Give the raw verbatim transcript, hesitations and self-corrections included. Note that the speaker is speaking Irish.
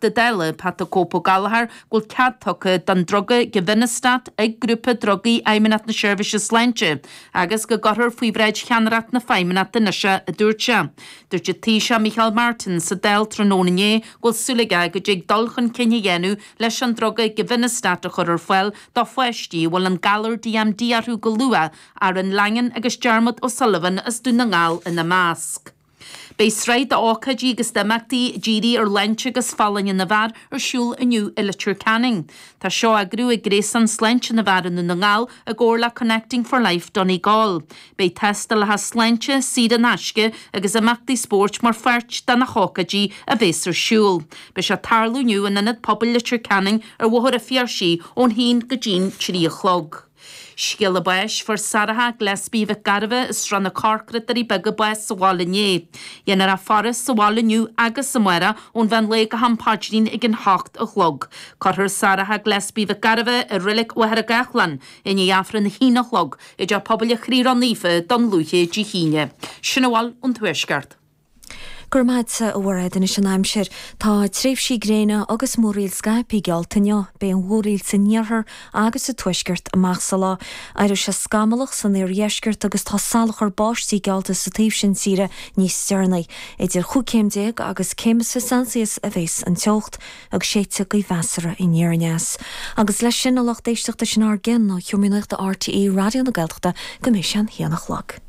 Teachta Dála Pat the Cope Gallagher go bhfuil cead tugtha don druga Givinostat ag Grúpa Drugaí Fheidhmeannacht na Seirbhíse Sláinte agus go gcuirfear faoi bhráid cheannaireacht na Feidhmeannachta anois é, a dúirt sé. Dúirt an Taoiseach Micheál Martin sa Dáil tráthnóna inné go bhfuil súil aige go dtig dul chun cinn a dhéanamh leis an druga Givinostat a chur ar fáil do pháistí a bhfuil an galar DMD orthu go luath Aaron Langan agus Dermot O'Sullivan as Dún na nGall ina measc. Beidh sraith d'ócáidí agus d'imeachtaí dírithe ar shláinte agus folláine na bhfear ar siúl inniu i Leitir Ceanainn. Tá seo á eagrú ag Gréasán Sláinte na bhFear i nDún na nGall i gcomhar le Connecting for Life Donegal. Beidh tástálacha sláinte saor in aisce agus imeachtaí spóirt mar pháirt de na hócáidí a bheas ar siúl. Beidh sé ag tarlú inniu in Ionad Pobail Leitir Ceanainn ar Bhóthar an Phiarsaigh ón haon go dtí'n trí a chlog. Scéala báis fuair Sarah Gillespie Mhic Gairbheith as Srath na Corcra Doirí Beaga bás sa bhaile inné. Dhéanfar a faire sa bhaile inniu agus amárach ón mheán lae go ham paidrín ag an hocht a chlog. Cuirfear Sarah Gillespie Mhic Gairbheith i Reilig Mhachaire Gathlán i ndiaidh Aifreann a haon a chlog i dTeach Pobail an Chroí Ró-Naofa Dún Lúiche Dé hAoine. Sin a bhfuil ón Tuaisceart. Go raibh maith agat a Mhairéad anois an aimsir. Tá tréimhsí gréine agus múraíl scaipthe geallta inniu, beidh an mhúraíl san iarthar agus sa tuaisceart amach sa lá. Éireoidh sé scamallach san iardheisceart agus tá salachar báistí geallta sa taobh sin tíre níos deireanaí. Idir chúig chéim déag agus céim is fiche Celsius a bheas an teocht agus séidfidh gaoth mheasartha aniar aneas. Agus leis sin a lucht éisteachta sin ár gcionn ó Sheomra Nuachta RTÉ Raidió na Gaeltachta go mbeidh sé an haon a chlog.